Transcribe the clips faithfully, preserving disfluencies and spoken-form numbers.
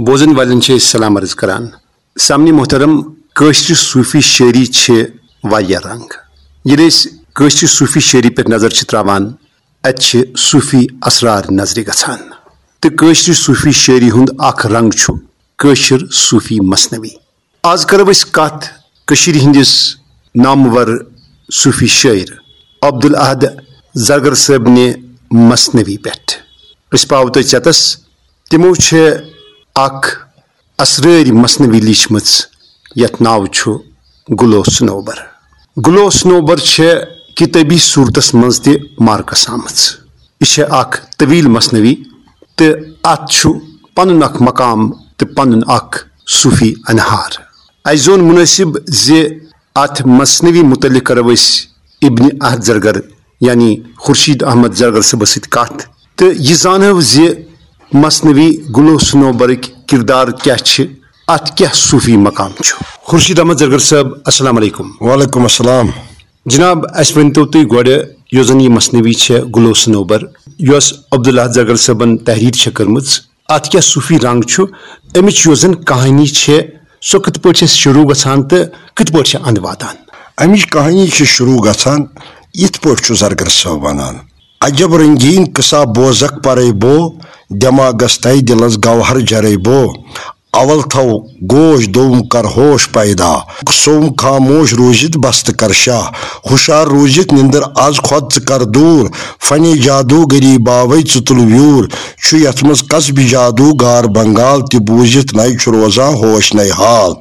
بوزن والٮ۪ن چھِ أسۍ سلام عرض کران۔ سامعین محترم، کٲشرِ صوٗفی شٲعری چھِ واریاہ رنگ۔ ییٚلہِ أسۍ کٲشرِ صوٗفی شٲعری پٮ۪ٹھ نظر چھِ تراوان، اَتہِ چھِ صوٗفی اسرار نظرِ گژھان۔ تہٕ کٲشرِ صوٗفی شٲعری ہُنٛد اکھ رنگ چھُ کٲشِر صوٗفی مثنوی۔ آز کرو أسۍ کتھ کٔشیٖرِ ہٕنٛدِس نامور صوٗفی شٲعر عبدالاحد زرگر صٲبنہِ مثنوی پٮ۪ٹھ۔ أسۍ پاوو تۄہہِ ژٮ۪تس، تِمو چھِ اکھ اسرٲرۍ مثنوی لیٖچھمٕژ، یتھ ناو چھُ گُلو سنوبر۔ گُلو سنوبر چھِ کِتٲبی صوٗرتس منٛز تہِ مارکس آمٕژ۔ یہِ چھِ اکھ طویل مثنوی تہٕ اتھ چھُ پنُن اکھ مقام تہٕ پنُن اکھ صوٗفی انہار۔ اسہِ زون مُنٲسِب زِ اتھ مثنوی متعلق کرو أسۍ ابن احد زرگر، یعنی خورشید احمد زرگر صٲبس سۭتۍ کتھ، تہٕ یہِ زانو زِ مثنوی گُلو سنوبرٕکۍ کردار کیٛاہ چھِ، اتھ کیٛاہ صوٗفی مقام چھُ۔ خورشید احمد زرگر صٲب، السلام علیکم۔ وعلیکم السلام۔ جناب، اسہِ ؤنۍتو تُہۍ گۄڈٕ، یۄس زن یہِ مثنوی چھےٚ گُلو سنوبر، یۄس عبدالاحد زرگر صٲبن تحریر چھےٚ کٔرمٕژ، اتھ کیٛاہ صوٗفی رنگ چھُ؟ امِچ یۄس زن کہانی چھےٚ، سۄ کِتھ پٲٹھۍ چھےٚ شروع گژھان تہٕ کِتھ پٲٹھۍ چھےٚ اند واتان؟ امِچ کہانی چھِ شروع گژھان یِتھ پٲٹھۍ چھُ زرگر صٲب ونان، عجب رنگین قصہ بوزک پرے بو، دماغس تہ دلس گوہر جرے بو۔ اول تھو گوش، دوم کر ہوش پیدا۔ سوم خاموش روٗزِتھ بستہٕ کر شاہ۔ ہُشار روٗزِتھ نِندٕر از کھۄتہٕ ژٕ کر دوٗر۔ فنِ جادوٗگری باوے ژٕ تُل ویوٗر۔ چھُ یتھ منٛز کسبِ جادوٗ گار بنگال تہِ بوٗزِتھ نَے چھُ روزان ہوش نَے حال۔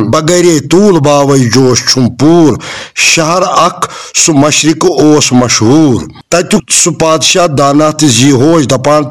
بغٲرے طول باوے جوش چھُم پوٗر۔ شہر اکھ سُہ مشرق اوس مشہوٗر۔ تتیُک سُہ پادشاہ دانا تہٕ زی ہوش دپان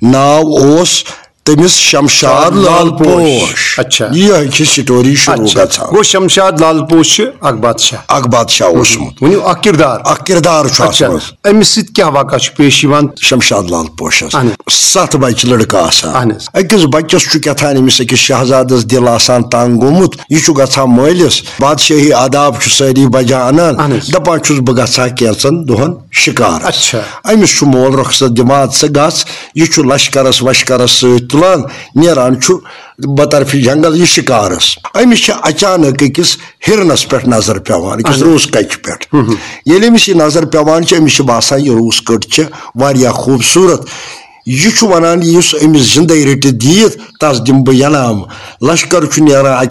ناو اوس تٔمِس شمشاد لال پوش۔ اچھا۔ یہِ چھِ سٹوری شروع اچھا۔ گژھان۔ گوٚو شمشاد لال پوش چھُ اکھ بادشاہ۔ اکھ بادشاہ اوسمُت۔ ؤنِو اکھ کردار۔ اکھ کردار چھُ اچھا۔ اتھ منٛز۔ أمِس سۭتۍ کیٛاہ واقعہ چھُ پیش یِوان؟ شمشاد لال پوشس اہن حظ۔ ستھ بچہِ لڑکہٕ آسان۔ اہن حظ۔ أکِس بچس چھُ کیٛاہ تام أمِس أکِس شہزادس دِل آسان تنگ گوٚمُت۔ یہِ چھُ گژھان مٲلِس۔ بادشٲہی آداب چھُ سٲری بجا انان۔ اہن حظ۔ دپان چھُس بہٕ گژھٕ ہا کینٛژن دۄہن شکارس۔ اچھا۔ أمِس چھُ مول رخصت دِوان، ژٕ گژھ۔ یہِ چھُ لشکرس وشکرس سۭتۍ تُلان، نیران چھُ بطرفِ جنگل یہِ شکارس۔ أمِس چھِ اچانک أکِس ہرنس پٮ۪ٹھ نظر پٮ۪وان، أکِس اہن۔ روٗس کچہِ پٮ۪ٹھ۔ ییٚلہِ أمِس یہِ نظر پٮ۪وان چھِ، أمِس چھِ باسان، یہِ روٗس کٔٹ چھِ واریاہ خوٗبصوٗرت۔ یہِ چھُ ونان، یُس أمِس زندے رٔٹِتھ دِیِتھ، تس دِمہٕ بہٕ ینام۔ لشکر چھُ نیران